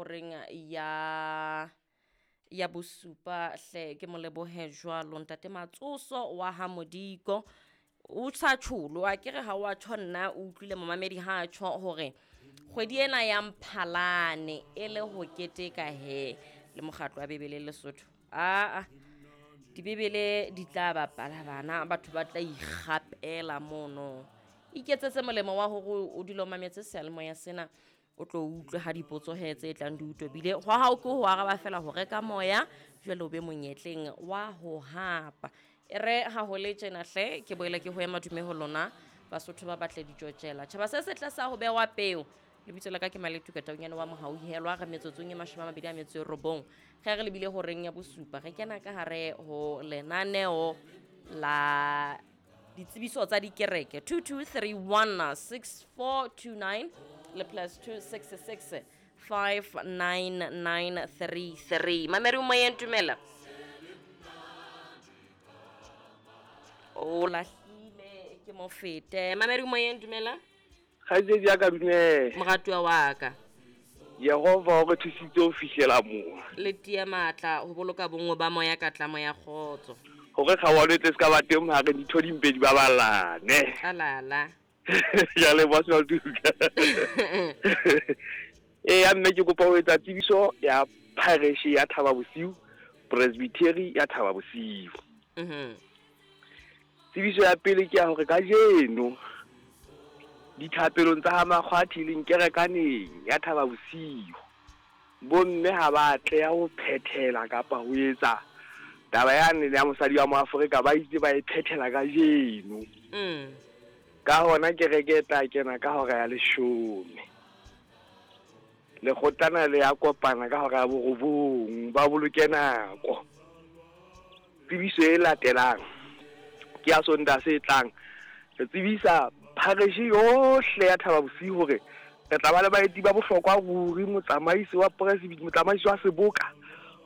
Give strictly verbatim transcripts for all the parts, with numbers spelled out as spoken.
horeng ya ya bosupa hle ke mo lebohe jwalo ntate Matsoso wa ha Modiko. O sa tjholo a kere ha wa tjho nna o utlwile momamedi ha a tjho hore kgwedi ena ya Mphalane e le ho keteka he le mokgatlo wa Bebele Lesotho. Aa dibebele di tla bapala bana batho ba tla ikgapela mono. Iketsetse molemo wa hore o dule o mametse seyalemoya sena o tlo utlwe ha dipotso he tse tlang di o tobile. Hwa hao ke ho araba fela ho reka moya jwale o be monyetleng wa ho hapa. E re ha ho le tjena hle ke boele ke ho ema dume ho lona Basotho ba batle ditjotjela. Tjhaba se setle sa ho bewa peo. Lebitso la ka ke Maletuka Taunyane wa Mohauhelwa re metsotsong e mashome a mabedi a metso e robong. Ge re lebile horeng ya bosupa re kena ka hare ho lenaneo la ditsebiso tsa dikereke two two three one six four two nine le plus two six six five nine nine three three. Mamedi o moyeng, dumela. O lahlile ke mo fete. Mamedi o moyeng, dumela. Kgaitsedi ya ka, dumela. Moratuwa wa ka. Jehova o re thusitse ho fihlela moo. Le tiya matla ho boloka bonngwe ba moya ka tlamo ya kgotso. Hore kgaohano e tle se ka ba teng hare ditho di mpe di baballane. Alala. Ke a leboha Sewatuka. Eya mme ke kopa ho etsa tsebiso ya parish ya Thaba Bosiu, Presbytery ya Thaba Bosiu. Mhm. Tsebiso ya pele ke ya hore kajeno dithapelong tsa ha Makgwathi le Nkerekaneng ya Thaba Bosiu, bomme ha ba atleha ho phethela kapa ho etsa taba yane ya mosadi wa Moafrika ba itse ba e phethela kajeno. Mm. Ka hona kereke e tla kena ka hora ya leshome. Lekgotlana le ya kopana ka hora ya borobong, ba boloke nako. Tsebiso e latelang ke ya Sontaha se tlang. Re tsebisa parish yohle ya Thaba Bosiu hore re tla ba le baeti ba bohlokwa ruri. Motsamaisi wa presbytery, motsamaisi wa seboka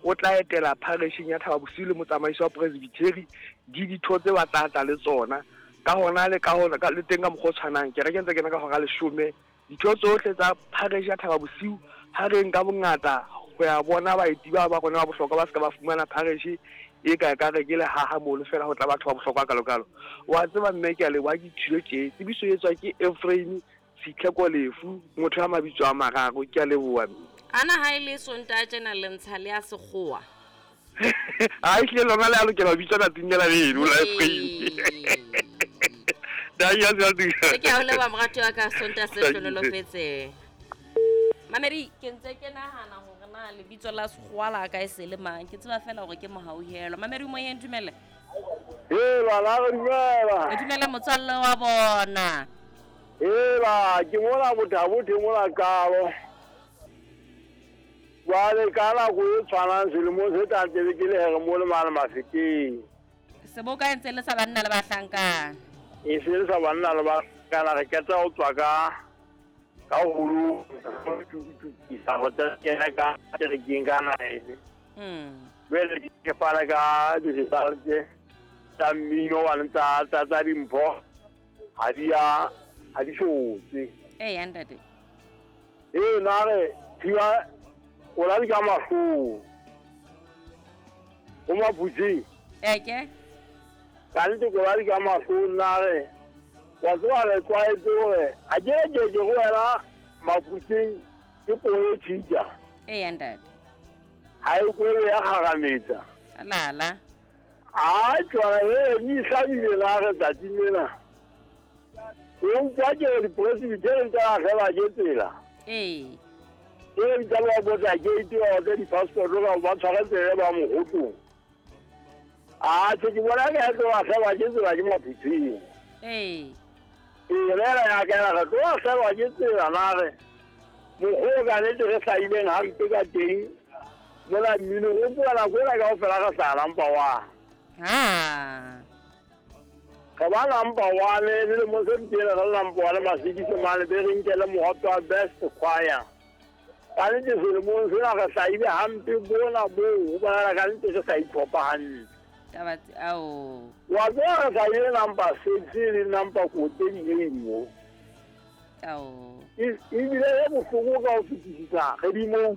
o tla etela parisheng ya Thaba Bosiu le motsamaisi wa presbytery di ditho tse ba tla tla le tsona. Ka hona le ka hona ka le teng ka mokgwa o tshwanang kereke ntse kena ka hora leshome. Ditho tsohle tsa parish ya Thaba Bosiu ha re nka bongata ho ya bona baeti ba ba rona ba bohlokwa ba se ka ba fumana parish e ka ka re ke le haha mono fela ho tla batho ba bohlokwa kalokalo. Wa tseba mme ke a leboha ke thilo tje. Tsebiso e etswa ke Ephraim Sitlheko Lefu, motho ya mabitso a mararo. Ke a leboha mme. Ana ha e le Sontaha tjena le ntsha le ya sekgowa. Ha ehlile lona le a lokela ho bitswa tsatsing lena leno la Ephraim. Dai ya tswa. Ke a o leboha moratuwa wa ka Sontaha se hlohonolofetseng. Mamedi ke ntse ke nahana hore na lebitso la sekgowa la ka e se le mang. Ke tseba fela hore ke Mohauhelwa. Mamedi o moyeng, dumela. Hela, la re dumela. Dumela motswalle wa bona. Hela, ke mona Bothabothe mona Qalo. Jwale ka nako e tshwanang selemong se tlang tebe ke le here mo le mane Mafikeng. Seboka e ntse le sa banna le bahlankana. E se le sa banna le bahlankana, re qeta ho tswa ka ka holo isa ho tla kena ka kerekeng ka nine. Mm. Jwale ke fana ka di-result tsa mmino wa tsa tsa tsa dimpho ha di a ha di shotse. Eya ntate. Ee na re thiba o la di ka mahlong. O Maphuthing. Eke. Ka nnete ko la di ka mahlong na re wa tseba re tlwaetse hore ha ke ke ke go wela Maphuthing ke poo e tjhitja. Eya ntate. Ha e kwele ya kgarametsa. Alala. A tjwala e ni hlabile la re tsatsing lena. O utlwa ke re dipresbytery tsa lahlehelwa ke tsela. Ee. Ke re bitsa ba botsa gate ba otle di-passport ka ba tshware tsela ba mogotong. A tjhe ke bona ke tlo lahlehelwa ke tsela ke Maphuthing. Ee. Ee, lera ya ka re tlo lahlehelwa ke tsela na re mokgwa o ka nnete re hlahileng hampe ka teng mola mmino o bua nako ena kaofela re hlaha number one. Ha. Re ba number one selemong se fetileng re le number one Masekise mane be re nkele mohope wa best choir. Ka nnete selemong sena re hlahile hampe bona boo ho bonahala ka nnete re sa itlhopha hantle. Taba tse ao. Wa tseba re hlahile number six le number kote di mo. Ao. Ebile e bohloko ka ho fetisisa re di mo